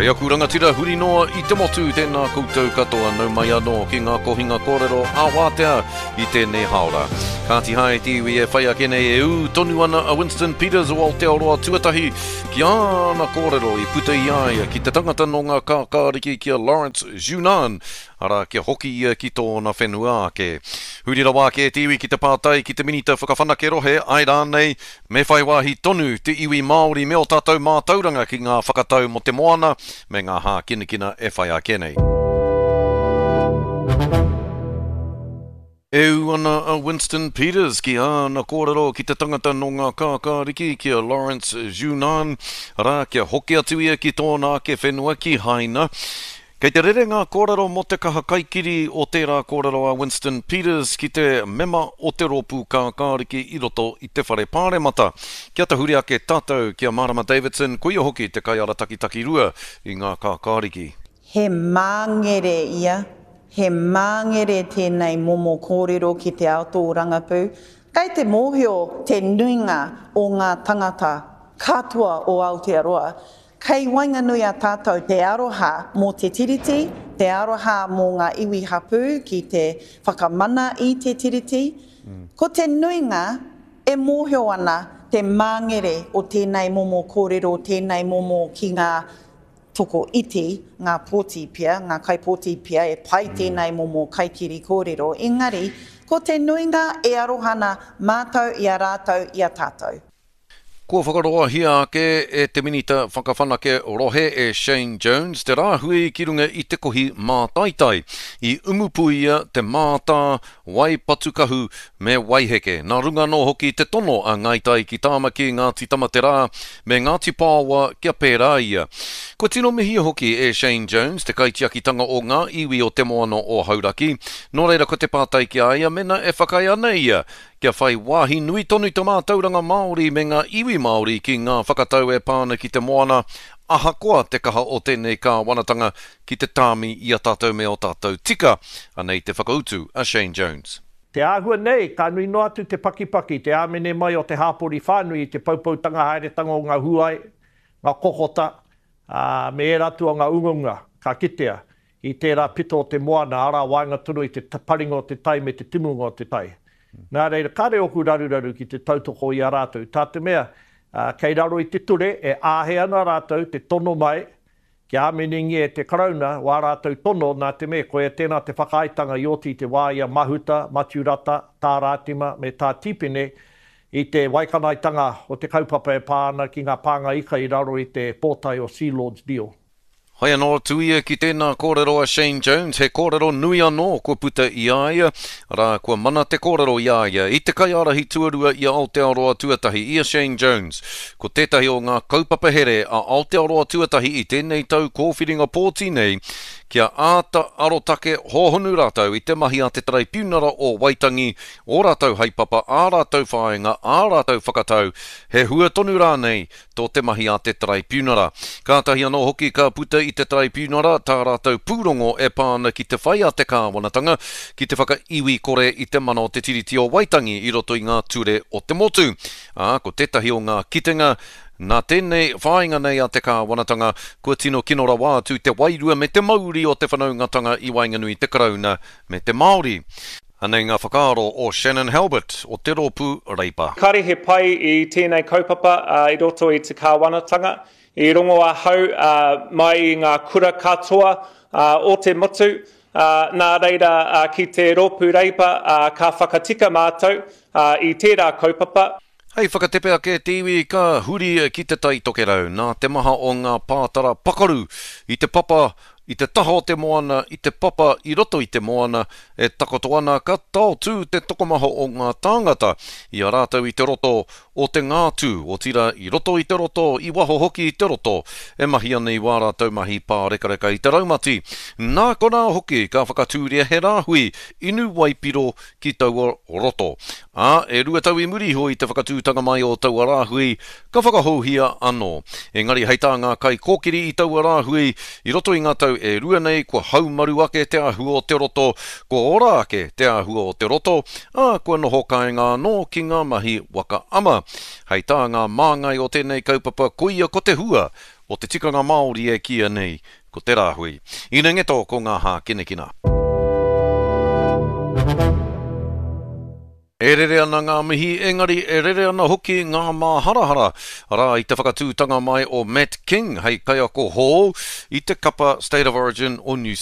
Kei aku rangatira huri noa i te motu, tēnā koutou katoa, nau mai anō ki ngā kohinga kōrero ā-wātea i tēnei hāora. Kāti hae te iwi e whai ake nei e ū tonu ana a Winston Peters o Aotearoa Tuatahi ki āna kōrero i puta i a ia ki te tangata nō ngā kākāriki ki a Lawrence Junan, arā kia hoki ia ki tōna whenua ake. Huri rawa ake te iwi ki te pātai ki te Minita Whakawhanake Rohe, āe rānei, me whai wāhi tonu te iwi Māori me ō tātou mātauranga ki ngā whakatau mō te moana me ngā hākinakina e whai ake nei. E ū ana a Winston Peters ki āna kōrero ki te tangata nō ngā kākāriki, ki a Lawrence Junan, arā, kia hoki atu ia ki tōna ake whenua, ki Haina. Kei te rere ngā kōrero mō te kaha kaikiri o tērā kōrero a Winston Peters ki te mema o te rōpū kākāriki i roto i te Whare Pāremata. Kia tahuri ake tātou ki a Marama Davidson, koia hoki te kaiarataki takirua i ngā kākāriki. He māngere ia, he māngere tēnei momo kōrero ki te ao tōrangapū. Kei te mōhio te nuinga o ngā tangata katoa o Aotearoa, kei waenganui a tātou te aroha mō te Tiriti, te aroha mō ngā iwi hapū ki te whakamana i te Tiriti. Ko te nuinga e mōhio ana te māngere o tēnei momo kōrero, tēnei momo ki ngā toko iti ngā pōti pea, ngā kaipōti pea e pai tēnei momo kaikiri kōrero, engari ko te nuinga e aroha ana mātou i a rātou i a tātou. Kua whakaroahia ake e te Minita Whakawhanake Rohe e Shane Jones te rāhui ki runga i te kohi mātaitai i Umupuia, Te Mātā, Waipatukahu me Waiheke. Nā runga anō hoki te tono a Ngāi Tai ki Tāmaki, Ngāti Tamaterā me Ngāti Pāoa kia pērā ia. Kua tino mihia hoki e Shane Jones te kaitiakitanga o ngā iwi o Te Moana o Hauraki, nō reira ko te pātai ki a ia mena e whakaae ana ia kia whai wāhi nui tonu te mātauranga Māori me ngā iwi Māori ki ngā whakatau e pā ana ki te moana ahakoa te kaha o tēnei kāwanatanga ki te tāmi i a tātou me ō tātou tika. Anei te whakautu a Shane Jones. Te āhua nei, ka nui noa atu te pakipaki, te āmene mai o te hāpori whānui i te poupoutanga haeretanga o ngā huae, ngā kokota, ā, me ērā atu o ngā ungaunga ka kitea i tērā pito o te moana, arā, waenga tonu i te paringa o te tai me te timunga o te tai. Nā reira, kāre ōku raruraru ki te tautoko i a rātou, tā te mea, kei raro i te ture e āhei ana rātou te tono mai Kia āminengia e te Karauna wā rātou tono nā te mea koia tēnā te whakaaetanga i oti i te wā i a Mahuta, Matiu Rata, Tā Rātima me Tā Tīpene i te waikanaetanga o te kaupapa e pā ana ki ngā pānga ika i raro i te pōtae o Sealord's Deal. Hai anō atu ia ki tēnā kōrero a Shane Jones, he kōrero nui anō kua puta i a ia, arā, kua mana te kōrero i a ia, i te kaiārahi tuarua i a Aotearoa Tuatahi, i a Shane Jones. Ko tētahi o ngā kaupapa here a Aotearoa Tuatahi i tēnei tau kōwhiringa pōti nei, kia āta arotake hōhonu rātou i te mahi a te Taraipiunara o Waitangi, ō rātou haepapa, ā rātou whāinga, ā rātou whakatau, he hua tonu rānei tō te mahi a te Taraipiunara. Kātahi anō hoki ka puta i te Taraipiunara tā rātou pūrongo e pā ana ki te whai a te kāwanatanga ki te whakaiwi kore i te mana o te Tiriti o Waitangi i roto i ngā ture o te motu. Ā, ko tētahi o ngā kitenga, nā tēnei whāinga nei a te kāwanatanga, kua tino kino rawa atu te wairua me te mauri o te whanaungatanga i waenganui i te Karauna me te Māori. Anei ngā whakaaro o Shannon Halbert o te Rōpū Reipa. Kāre he pai i tēnei kaupapa i roto i te kāwanatanga. I rongo ahau mai i ngā kura katoa o te motu, nā reira ki te Rōpū Reipa ka whakatika mātou i tērā kaupapa. Hei whakatepe ake te iwi ka huri ki Te Tai Tokerau nā te maha o ngā pātara pakaru i te papa, i te taha o te moana, i te papa i roto i te moana e takoto ana ka taotū te tokomaha o ngā tāngata i a rātou i te roto o te ngātū, otirā i roto i te roto, i waho hoki i te roto e mahi ana i wā rātou mahi pārekareka i te raumati. Nā konā hoki ka whakatūria he rāhui inu waipiro ki taua roto. Ā, e 2 tau i muri iho i te whakatūtanga mai o taua rāhui, ka whakahouhia anō. Engari hei tā ngā kaikōkiri i taua rāhui, i roto i ngā tau e rua nei kua haumaru ake te āhua o te roto, kua ora ake te āhua o te roto, ā, kua noho kāinga anō ki ngā mahi waka ama. Hei tā ngā māngai o tēnei kaupapa koia ko te hua o. o te tikanga Māori e kīia nei ko te rāhui. Ina ngeto ko ngā hākinakina. E rere ana ngā mihi, engari e rere ana hoki ngā māharahara, arā, i te whakatūtanga mai o Matt King hei kaiako hou i te kapa State of Origin o New South.